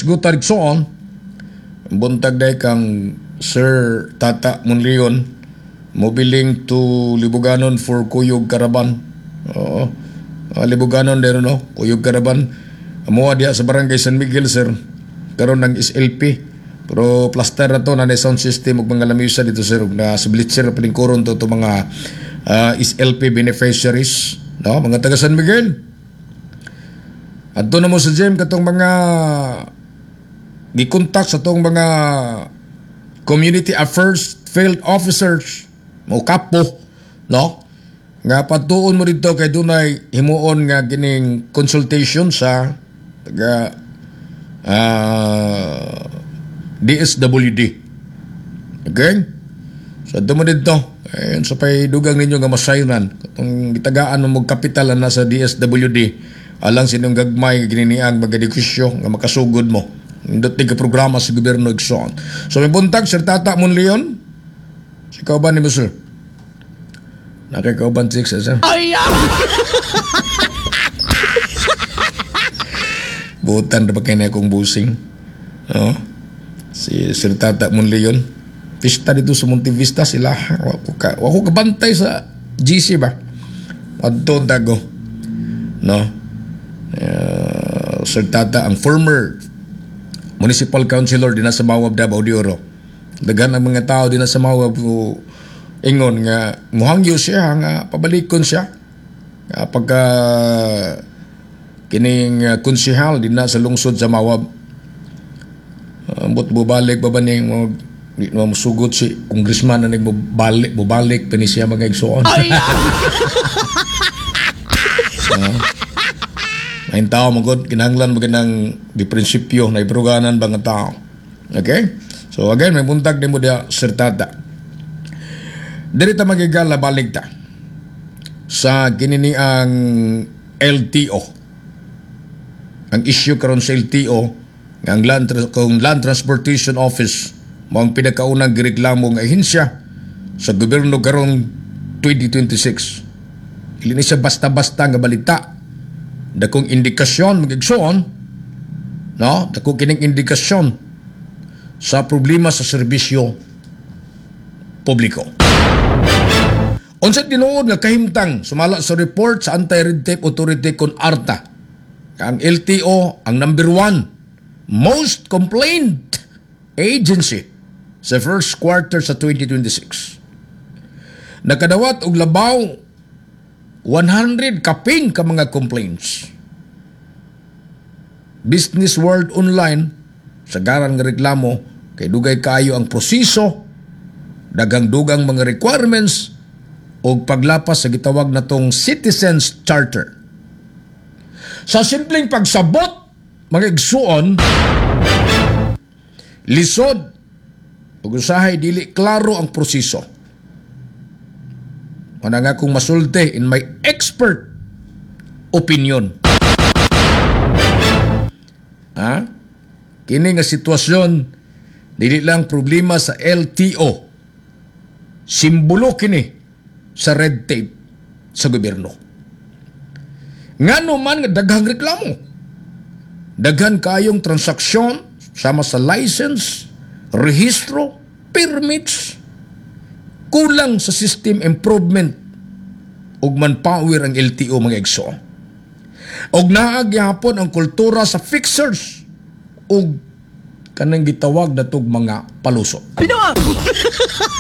Hisgutan, igsoon. Buntag day kang Sir Tata Monleon mobiling to Libuganon for Kuyog Caravan. Oo. Libuganon dero, no? Kuyog Caravan. Amuha diya sa Barangay San Miguel, sir. Karon ng SLP. Pero plaster na to na sound system ug mga lamisa dito, sir, ug na sa bleacher palingkuron to mga SLP beneficiaries, no? Mga taga San Miguel. Adto na mo sa gym katong mga gikontak sa tong mga community affairs field officers mo kapo, no, nga patuon mo dito kay dunay himuon nga kining consultation sa taga DSWD. Okay, so adto mo dito. Ayun, sa pay dugang ninyo nga masayran katong gitagaan mo kapital na sa DSWD alang sa inyong gagmay nga gininiang magadegosyo nga makasugod mo. Nindot ni ka programa sa gobyerno, igsoon. So may buntag, Sir Tata Monleon. Si kauban ni mo, sir. Nakikauban six, eh, sir. Ay! Butan na ba kayo na akong busing? No? Si Sir Tata Monleon. Pista dito sa Monte Vista sila. Wako kabantay sa GC ba? Adto tago. No? Sir Tata, ang former municipal councilor din sa Mawab, Davao de Oro. Daghan ang mga tao din sa Mawab o ingon nga muhangyo siya nga pabalikon siya. Nga pagka kining konsehal din na sa lungsod sa Mawab. Ambot bubalik ba ba ning mo di na musugot si congressman na nagbabalik bubalik pa ni siya mga igsoon. Ay! May tao magod kinahanglan mo ng di prinsipyo na ipruganan ba nga tao. Okay? So again, may buntag din mo diya, Sir Tata. Diri ta magigala balik ta sa kinini ang LTO. Ang issue karon sa LTO nga ang kung Land Transportation Office mo ang pinakaunang gireklamo nga ahensya sa gobyerno karong 2026. Dili ni siya basta-basta nga balita. Dakong indikasyon magigsoon, no? Dako kining indikasyon sa problema sa serbisyo publiko. Unsa tinuod nga kahimtang sumala sa report sa Anti-Red Tape Authority kon ARTA? Ang LTO ang number one most complained agency sa first quarter sa 2026. Nakadawat og labaw 100 kapin ka mga complaints. Business World Online sagaran nga reklamo kay dugay kaayo ang proseso, daghang-dugang mga requirements o paglapas sa gitawag natong Citizens Charter. Sa simpleng pagsabot, mga igsuon, lisod ug usahay dili klaro ang proseso. Wala nga kong masulti in my expert opinion. Ha? Kini nga sitwasyon dili lang problema sa LTO. Simbolo kini sa red tape sa gobyerno. Ngano man nga daghang reklamo. Daghan kayong transaksyon sama sa license, rehistro, permits, kulang sa system improvement ug manpower ang LTO, mga igsoon. Og naa gyapon ang kultura sa fixers ug kanang gitawag natog mga paluso. Pinoa!